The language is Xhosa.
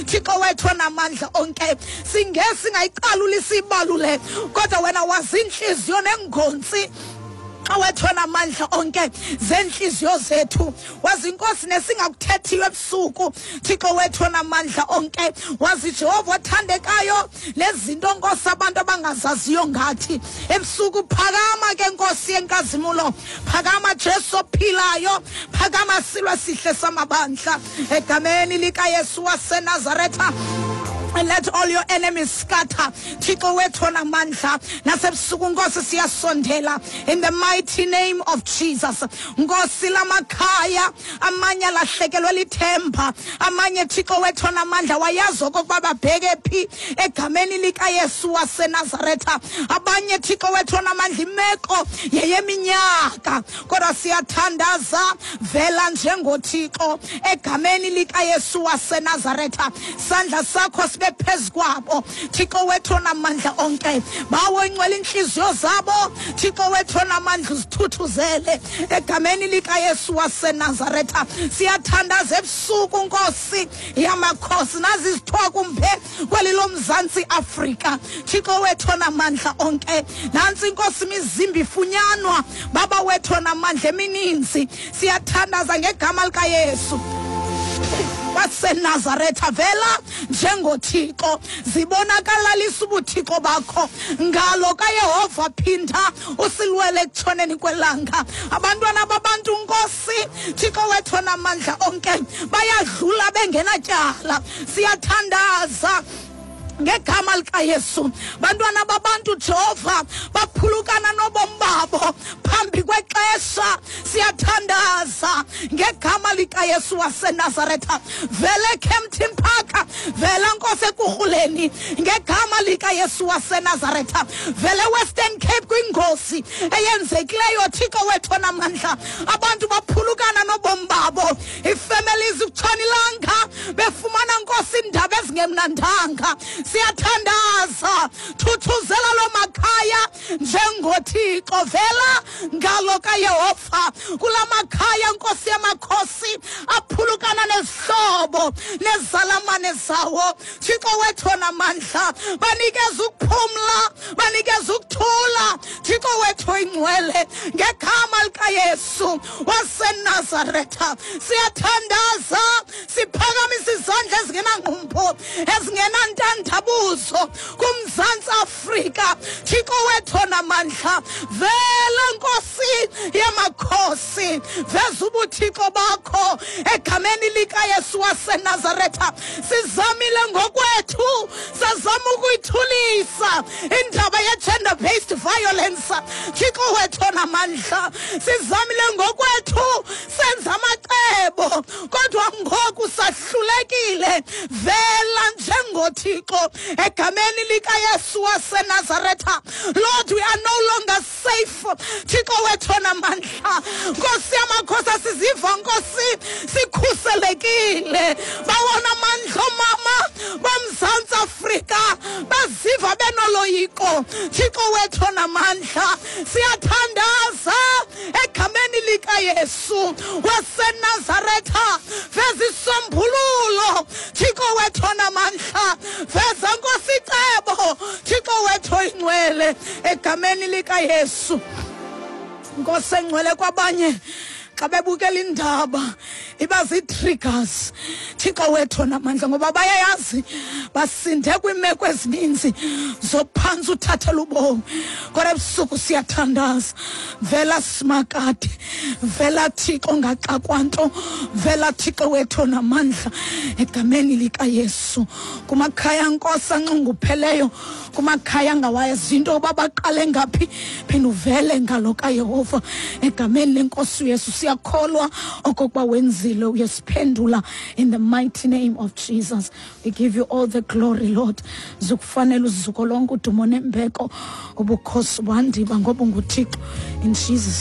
Thixo wethu onamandla onke. Singe singayiqaluli siyibalule, kodwa wena wazi iintliziyo neengontsi wethu onamandla onke zeentliziyo zethu. Wazi, Nkosi, nesingakuthethiyo ebusuku, Thixo wethu onamandla onke. Wazi, Jehova othandekayo, nezinto, Nkosi, abantu abangazaziyo ngathi ebusuku. Phakama ke, Nkosi yenkazimulo, phakama, Jesu ophilayo, phakama, silwe sihle samabandla, egameni likaYesu waseNazaretha. And let all your enemies scatter, Thixo wethu onamandla. Nasebusuku, Nkosi, siyasondela in the mighty name of Jesus. Nkosi, lamakhaya amanye alahlekelwe lithemba, amanye, Thixo wethu onamandla, wayazi okokuba babheke phi, egameni likaYesu waseNazaretha. Abanye, Thixo wethu onamandla, imeko yeyeminyaka, kodwa siyathandaza, vela njengoThixo egameni likaYesu waseNazaretha. Sandla sakho sibe phezu kwabo, Thixo wethu onamandla onke. Bawo ingcwele, iintliziyo zabo, Thixo wethu onamandla, uzithuthuzele egameni likaYesu waseNazaretha. Siyathandaza ebusuku, Nkosi yamakhosi, nazi izithwakumbe kweli loMzantsi Afrika, Thixo wethu onamandla onke. Nantsi, Inkosi, imizimba ifunyanwa, Baba wethu onamandla, emininzi. Siyathandaza ngegama likaYesu waseNazaretha, vela njengoThixo, zibonakalalisa ubuthixo bakho ngalo kaYehova. Phinda usilwele ekutshoneni kwelanga. Abantwana babantu, Nkosi Thixo wethu onamandla onke, bayadlula bengenatyala. Siyathandaza ngegama likaYesu. Bantwana babantu, Jehova, baphulukana nobomi babo phambi kwexesha. Siyathandaza ngegama likaYesu waseNazaretha, vele Kempton Park, vela, Nkosi, Ekurhuleni, ngegama likaYesu waseNazaretha. Vele Western Cape kwingozi eyenzekileyo, Thixo wethu onamandla. Abantu baphulukana nobomi babo, ii-families kutshona ilanga befumana, Nkosi, iindaba ezingemnandanga. Siyathandaza, thuthuzela loo makhaya njengoThixo. Vela ngalo kaYehova kula makhaya, Nkosi yamakhosi, aphulukana nezihlobo nezalamane zawo. Thixo wethu onamandla, banikeza ukuphumla, banikeza ukuthula, Thixo wethu oyingcwele, ngegama likaYesu waseNazaretha. Siyathandaza, siphakamisa izandla ezingenangqumbo, ezingenantandabuzo kuMzantsi Afrika. Thixo wethu onamandla, vele, Nkosi yamakhosi, veza ubuthixo bakho egameni likaYesu waseNazaretha. Sizamile ngokwethu, sazama ukuyithulisa indaba ye-gender based violence, Thixo wethu onamandla. Sizamile ngokwethu, senza amacebo, kodwa ngoku sahlulekile. Vela njengoThixo egameni likaYesu waseNazaretha. Lord, we are no longer safe, Thixo wethu onamandla. Nkosi yamakhosi, asiziva, Nkosi, sikhuselekile. Bawona amandla, oomama boMzantsi Afrika baziva benoloyiko, Thixo wethu onamandla. Siyathandaza egameni likaYesu waseNazaretha, veza isombululo, Thixo wethu onamandla. Veza, Nkosi, icebo, Thixo wethu oyingcwele, egameni likaYesu. Nkosi engcwele, kwabanye xa bebukela indaba iba zii-triggers, Thixo wethu onamandla, ngoba bayayazi basinde kwiimeko ezininzi zophantsi uthathela ubomi. Kodwa ebusuku siyathandaza, vela Simakade, vela, Thixo, ngaxakwa nto. Vela, Thixo wethu onamandla, egameni likaYesu, kumakhaya, Nkosi, anxungupheleyo, kumakhaya angawazi into yoba baqale ngaphi. Phinda uvele ngalo kaYehova egameni leNkosi uYesu. Siyakholwa okokuba wenzile, uyasiphendula. In the mighty name of Jesus we give you all the glory, Lord. Zikufanele uzuko lonke, udumo nembeko, ubukhosi, wandiba, ngoba unguThixo, in Jesus.